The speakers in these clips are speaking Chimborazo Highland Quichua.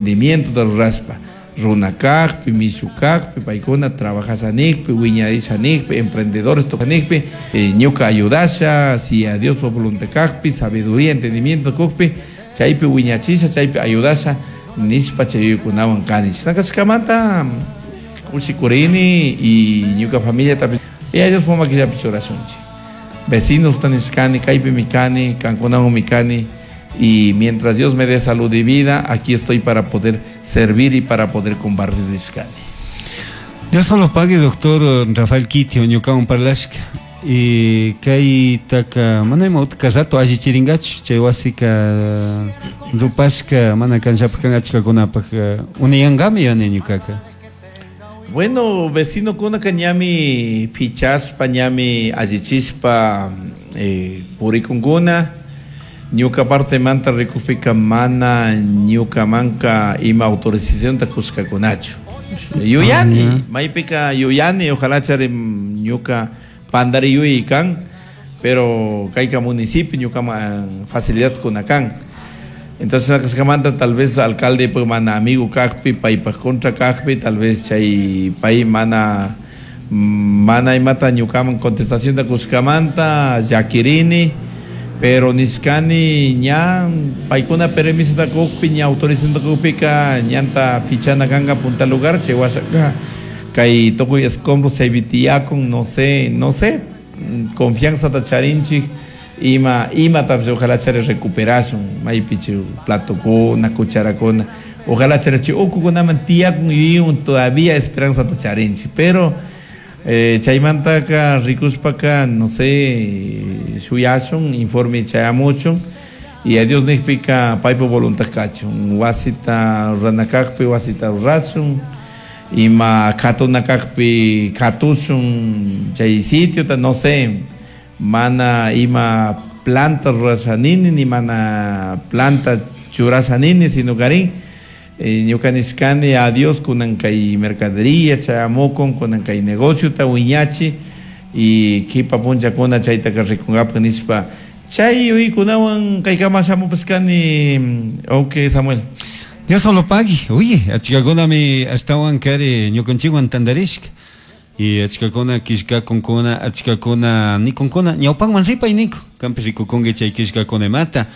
Emprendimiento rurashpa runa kajpi, mishu kajpi, paykuna trabajasha nijpi, wiñarisha nijpi, emprendedores nijpi, ñuka ayudasha, si a Dios voluntad kajpi, sabiduría, entendimiento kujpi, chaypi wiñachisha, chaypi ayudasha, nishpa chay yuyaykunawan kani. Chashna kashkamanta kushikurini y ñuka familiatapish Yaya Diospa maquillapi churashunchik. Vecinos nishkani, kaypimi kani, kankunawanmi kani. Y mientras Dios me dé salud y vida, aquí estoy para poder servir y para poder compartir nishkani. Dios solo pague, doctor Rafael Kitio, ñukawan parlashka. Y kaytaka mana ima utka rato allichirinkachu, chay wasika rupashka mana kanllapaj kan achkakunapaj uniyankami yani ñukaka. Bueno, vecino kunaka ñami pichashpa, ñami allichishpa purikunkuna. Ñuka partemanta rikukpika mana ñukamanka ima autorizacionta kushkakunachu. Yuyani, maypika yuyani, ojalá chari ñuka pandari yuyay kan, pero kayka municipio ñukaman facilidad kuna kan. Entonces kashkamanta tal vez alcalde pues mana amigo kajpi, paypaj contra kajpi, tal vez chay pay mana mana imata ñukaman contestación da kushkamanta llakirini, pero nishkani ña paykuna permiso da kujpi, ña autorización da kujpika ñanta pichana kanka punta lugar, chay washaka kay tukuy escombros chaypi tiyakun, no sé, no sé, confianza ta charinchik, ima imatapish ojalá chari recuperashun, maypi chay platokuna, cucharakuna, ojalá chari chay ukukunaman tiyakun yuyaywan todavía esperanza ta charinchik, pero chaymantaka rikushpaka, no sé, shuyashun, informe chayamuchun, y a Dios nijpika paypa voluntad kachun, wasita rurana kajpi wasita rurashun, ima katuna kajpi katushun chay sitiota, no sé, mana ima planta rurasha nini, ni mana planta churasha nini, sino karin, ñuka nishkani a Dios kunan kay mercadería chayamukun, kunan kay negociota wiñachi, y kipa punchakuna chaytaka rikunkapak nishpa chay yuyaykunawan kaykama shamupashkani. Ok, Samuel. Dios solo pagui. Oye, achkakunami ashtawan kari ñukanchikwan tantarishka. Y achkakuna killkakunkuna, achkakuna nikunkuna, ñawpanman ripay niku. Kanpish rikukunki chay killkakunamanta.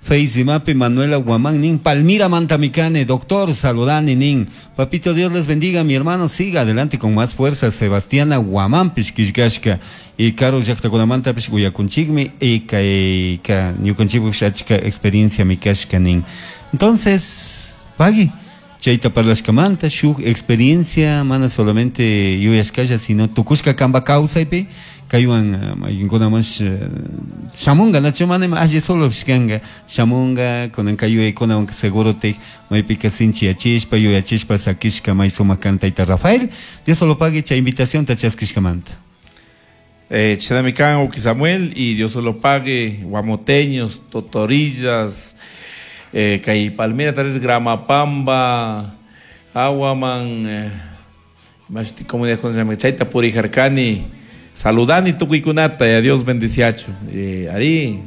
Face Manuela Guamán nin, Palmira Mantamicane, doctor, saludani nin. Papito, Dios les bendiga, mi hermano, siga adelante con más fuerza. Sebastiana Guamán pishkishkashka. Y Carlos llaqtakunamanta pish uyakunchikmi, y kay ka ñukanchikpish achka experiencia mikashka nin. Entonces, pagui, chayta parlashkamanta, shuk experiencia, mana solamente yuyashkalla, sino tukushka kanpa kawsaypi, kaywan maykinkuna mas shamunga, nachu mana ima alli solo pishkanka, shamunga, kunan kay yuyaykunawan seguro te maypika sinchiyachishpa, yuyachishpa sakishka may sumak kan tayta Rafael. Dios solo pague chay invitación ta chaskishkamanta. Chaymi kan Uki Samuel, y Dios solo pague guamoteños, totorillas, kay Palmira, tal vez Gramapamba, Aguaman, más comunidad con llama chayta purijarkani, saludani tukuykunata, y a Dios bendiciacho. Ari,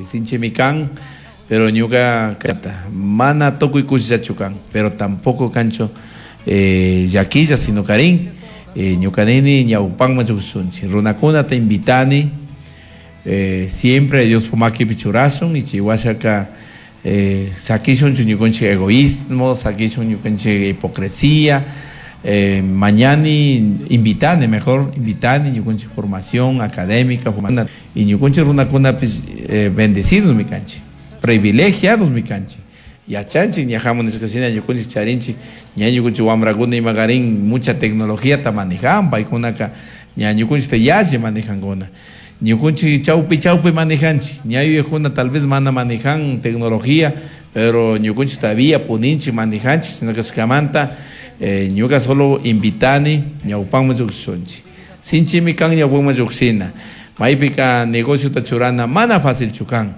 sinchimikan, pero ñuka kata, mana tukuy kushichachu kan, pero tampoco cancho, llaquilla, sino karin, ñuka nini ñawpanman lluqshunchik, runakuna te invitani, siempre Dios pumaki pichurasun, y chihuashaka, sakishun ñukanchik egoísmo, sakishun ñukanchik hipocresía, mañani invitani, mejor invitani ñukanchik formación académica, y ñukanchik runakunapis, bendecidos mi kanchik, privilegiados mi kanchik. Yachanchik, ñajamun nishkashina ñukanchik charinchik, ña ñukanchik wamrakuna imakarin mucha tecnología ta manejan, paykunaka ña ñukanchik ta yalli manejankuna. Ñukanchik chawpi chawpi manejanchik, ña yuyajuna tal vez mana manejan tecnología, pero ñukanchik todavía puninchik manejanchik, sino que kashkamanta, ñuka solo invitani ñawpanman lluqshunchik. Sinchimi kan ñawpanman lluqshina. Maypika negociota churana mana fácilchu kan.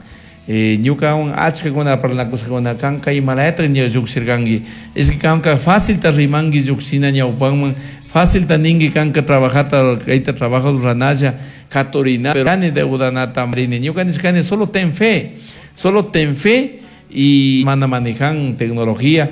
Ñukawan achkakuna parlanakushkakuna kan, kay malayata ña lluqshirkanki. Es que kanka fácilta rimanki lluqshina ñawpanman, fácilta ninki kanka trabajata, kayta trabajo ruranalla, katurina, pero kani deudanata rini. Ñuka nishkani solo ten fe, solo ten fe y mana manejan tecnología,